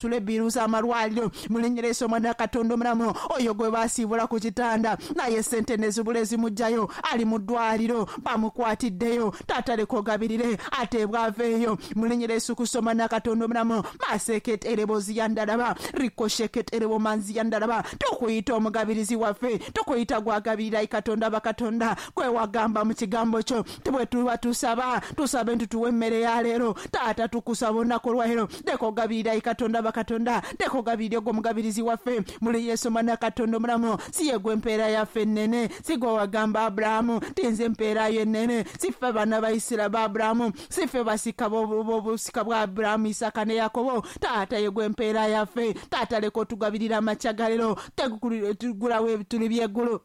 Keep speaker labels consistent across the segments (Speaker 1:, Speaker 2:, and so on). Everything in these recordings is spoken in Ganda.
Speaker 1: Tule biruza amalwaliro mu linnya lya Yesu omwana wa Katonda omulamu. Oyo gwe baasiibula ku kitanda naye sente nezibula ezimugjayo, ali mu ddwaliro bamukwatiddeyo. Taata leka ogabirire ateebwa aveeyo mu linnya lya Yesu Kristo omwana wa Katonda omulamu. Maseketerebozi yandalaba rikosheketerebo yandalaba. Tukuyita omugabirizi waffe, tukuyita gwagabirira Katonda bakatonda. Gwe wagamba mu kigambo kyo bwe tuba tusaba, tusabe nti tuwe emmere ya leero. Taata tukusaba olunaku olwaleero, leka ogabirira Katonda bakatonda, leka ogabirire gwe omugabirizi waffe muli Yesu omwana Katonda omulamu. Si ye gwe empeera yaffe ennene? Si gwe wagamba Abulahamu ti nze empeera yo ennene? Si ffe baana ba Isira ba Abulahamu? Si ffe basika b'obusika bwa Abulahamu, Isaka ne Yakobo? Taata ye gwe empeera yaffe. Taata leka otugabirira amakya ga leero, tugulawo ebituli by'eggulu,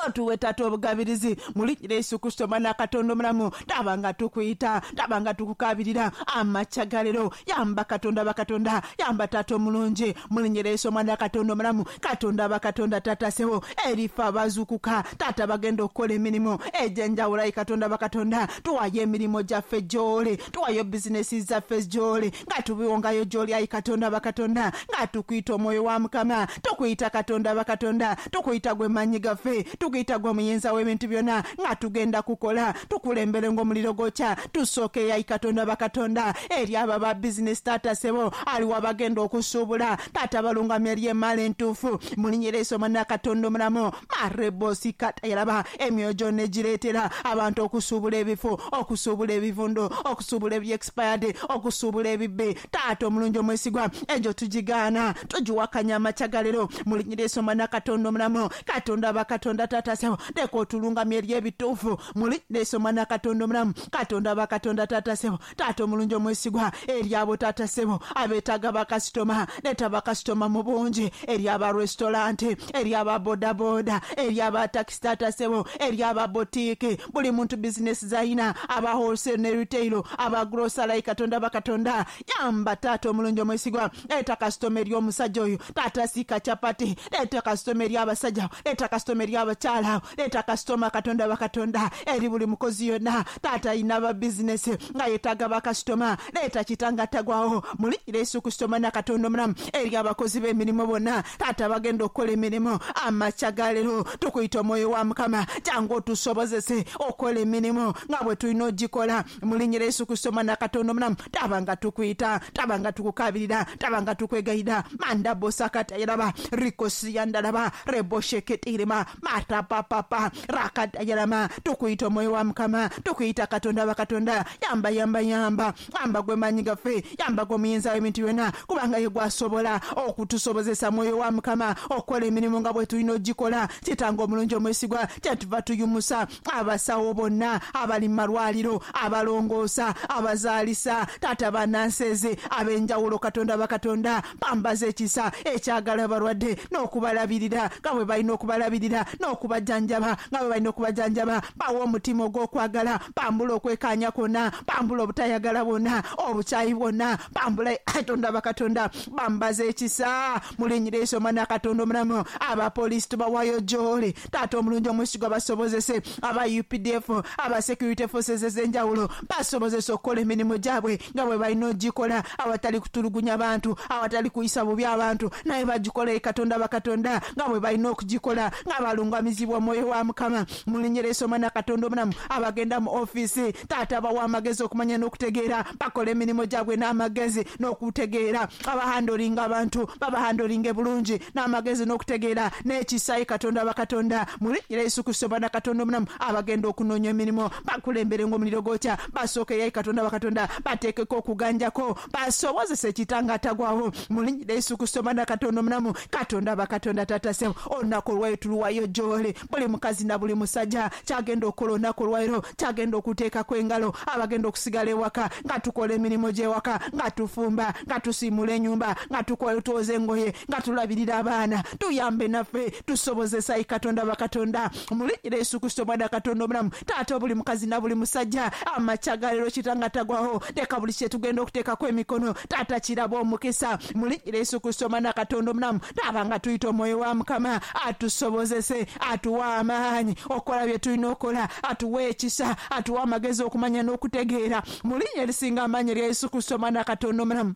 Speaker 1: otuwe taata obugabirizi mu linnya lya Yesu Kristo omwana wa Katonda omulamu. Taba nga tukuyita, taba nga tukukabirira amakya ga leero. Yamba Katonda bakatonda, yamba taata omulungi mu linnya lya Yesu omwana wa Katonda omulamu. Katonda bakatonda, taata sebo, erife abazuukuka taata bagenda okukola emirimu egy'enjawulo. Ayi Katonda bakatonda, tuwayo emirimu gyaffe gy'oli, tuwayo bizinesi zaffe gy'oli, nga tubiwongayo gy'oli. Ayi Katonda bakatonda, nga tukuyita omwoyo wa Mukama, tukuyita Katonda bakatonda, tukuyita gwe maanyi gaffe, tukuyita gwe omuyinza w'ebintu byonna. Nga tugenda kukola, tukulembere ng'omuliro gwokya. Tusooke ayi Katonda bakatonda eri abo aba bizinesi. Taata sebo, aliwo abagenda okusuubula, taata balungamya eri emaala entuufu mu linnya lya Yesu omwana wa Katonda omulamu. Marebosi katayalaba, emyoyo gyonna egireetera abantu okusuubula ebifu, okusuubula ebivundu, okusuubula ebi expired, okusuubula ebibbe, taata omulungi omwesigwa, egyo tugigaana, tugiwakanya amakya ga leero mu linnya lya Yesu omwana wa Katonda omulamu. Katonda bakatonda, taata sebo, leka otulungamya eri ebituufu mu linnya lya Yesu omwana wa Katonda omulamu. Katonda bakatonda, taata sebo, taata omulungi omwesigwa, eri abo taata sebo abeetaaga bakasitoma, leeta bakasitoma mu bungi eri aba restaurant, eri aba bodaboda, eri aba takisi, taata sebo, eri aba botiiki, buli muntu bizinesi zayina, aba wholesale ne retail, aba grocery. Katonda bakatonda, yamba taata omulungi omwesigwa, leeta kasitoma eri omusajja oyo taata siika capati, leeta kasitoma eri abasajja, leeta kasitoma eri abakyala, leeta kasitoma Katonda bakatonda eri buli mukozi yonna. Taata ayina ba bizinesi nga yeetaaga bakasitoma, leeta kitanga tagwawo muli Yesu Kristo omwana Katonda omulamu. Eri abakozi b'emirimu bonna taata bagenda okukola emirimu amakya ga leero, tukuyita omwoyo wa Mukama, jangu otusobozese okukola emirimu nga bwe tulina ogikola mu linnya lya Yesu Kristo omwana Katonda omulamu. Taba nga tukuyita, taba nga tukukabirira, taba nga tukwegayira. Mandabosakatayiraba rikosiyandalaba rebosheketirima matapapapa rakatayirama. Tukuyita omwoyo wa Mukama, tukuyita Katonda bakatonda. Yamba, yamba, yamba, yamba gwe maanyi gaffe, yamba gwe omuyinza w'ebintu byonna, kubanga ye gwasobola okutusobozesa mwoyo wa Mukama okukola emirimu nga bwe tulina ogikola. Kitanga omulungi omwesigwa, kyetuva tuyumusa abasawo bonna abali mu malwaliro, abalongoosa, abazaalisa, taata banansezi ab'enjawulo. Katonda bakatonda, bambaza ekisa ekyagala abalwadde n'okubalabirira nga bwe balina okubalabirira n'okubajjanjaba nga bwe balina okubajjanjaba. Bawa omutima ogw'okwagala, bambula okwekaanya kwonna, bambula obutayagala bwonna, obukyayi bwonna, bambula. Katonda bakatonda, bambaza ekisa mu linnya lya Yesu omwana Katonda omulamu. Abapoliisi tubawayo gy'oli taata omulungi omwesigwa, basobozese aba UPDF, aba security forces ez'enjawulo, basobozese okukola emirimu gyabwe nga bwe balina ogikola awatali kutulugunya bantu, awatali kuyisa bubi abantu, naye bagikola Katonda bakatonda nga bwe balina okugikola nga balungamizibwa omwoyo wa Mukama mu linnya lya Yesu omwana Katonda omulamu. Abagenda mu ofiisi taata, bawa amagezi okumanya n'okutegeera, bakola emirimu gyabwe n'amagezi n'okutegeera. Abahandolinga abantu babahandolinge bulungi n'amagezi n'okutegeera n'ekisa Katonda bakatonda mu linnya lya Yesu Kristo omwana Katonda omulamu. Abagenda okunoonya emirimu bakulembere ng'omuliro gwokya, basookeyo Katonda bakatonda, bateekeko okuganjako, basobozesa ekitanga atagwawo mu linnya lya Yesu Kristo omwana Katonda omulamu. Katonda bakatonda, taata sebo, olunaku olwayo tuluwayo gy'oli. Buli mukazi na buli musajja kyagenda okukola olunaku olwaliro, kyagenda okuteekako engalo, abagenda okusigala ewaka nga tukola emirimu gy'ewaka, nga tufumba, nga tusiimula ennyumba, nga tukola twoza engoye, nga tulabirira abaana, tuyambe naffe tusobozesa Katonda bakatonda mu linnya lya Yesu Kristo omwana Katonda omulamu. Taata, buli mukazi na buli musajja amakya ga leero kitanga tagwawo, leka buli kyetugenda okuteekako emikono taata kiraba omukisa mu linnya lya Yesu Kristo omwana Katonda omulamu. Taaba nga tuyita omwoyo wa Mukama atusobozese, atuwe amaanyi okukola bye tulina okukola, atuwe ekisa, atuwe amagezi okumanya n'okutegeera mu linnya erisinga amaanyi erya Yesu Kristo omwana Katonda omulamu.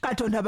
Speaker 1: Katonda.